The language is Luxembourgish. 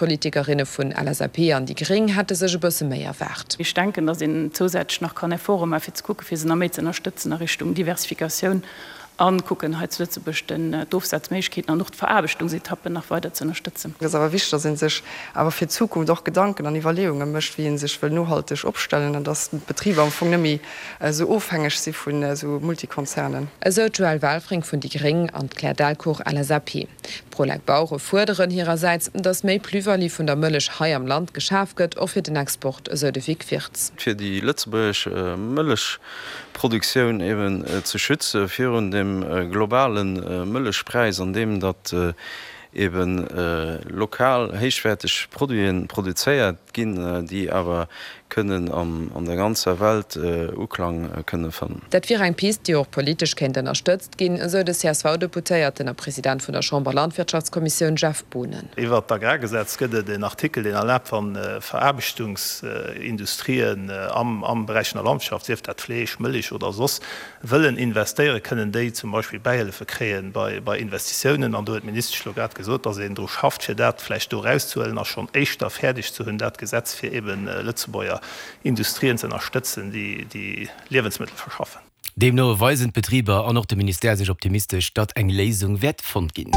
D'Politikerinne vun LSAP an déi Gréng hätte sech e bësse méi erwaart. Ech denken, datt een zousätzlech nach kann Efforte maachen, fir ze kucken, fir se nach méi ze ënnerstëtzen a Richtung Diversifikatioun a kucken, hei zu Lëtzebuerg den d'Ofsazméiglechkeeten an och d'Veraarbechtungsetappen nach weider ze ënnerstëtzen. Et ass awer wichteg, datt ee sech awer fir d'Zukunft och Gedanken an Iwwerleeunge mécht, wéi ee sech wëll nohalteg opstellen an datt d'Betriber am Fong net méi esou ofhängeg si vun esou Multikonzernen. Esou d'Joëlle Welfring vun déi Gréng an d'Claire Delcourt, LSAP. D'Prolec Bauere fuerderen hirersäits, datt méi Plus-value vun der Mëllech hei am Land geschaf gëtt, och fir den Export, esou de Vic Wirtz. Fir déi lëtzebuergesch Mëllechproduktioun eben ze schütze virun dem globale Mëllechpräis, andeem datt eben lokal héichwäerteg Produite produzéiert ginn, déi awer kënnen an der ganzer Welt Uklang kënne fannen. Dat wier eng Pist, déi och politesch kéint ënnerstëtzt ginn, esou de CSV-Deputéierten a President vun der Chamber-Landwirtschaftskommissioun Jeff Boonen. Iwwert d'Agrargesetz gëtt et en Artikel, deen erlaabt, wann Veraarbechtungsindustrien am Beräich vun der Landwirtschaft, sief dat Fleesch, Mëlich oder soss, wëllen investéieren, kënnen déi zum Beispill Bäihëllefe kréien bei Investitiounen. An do huet d'Ministesch elo grad gesot, dass een dru schafft, fir dat vläicht do erauszehuelen a schonn éischter fäerdeg ze hunn, dat Gesetz, fir eebe Lëtzebuerger Industrien ze ënnerstëtzen, déi Liewensmëttel verschaffen. Deemno weisen d'Betriber an och de Ministère sech optimistesch, datt eng Léisung wäert fonnt ginn.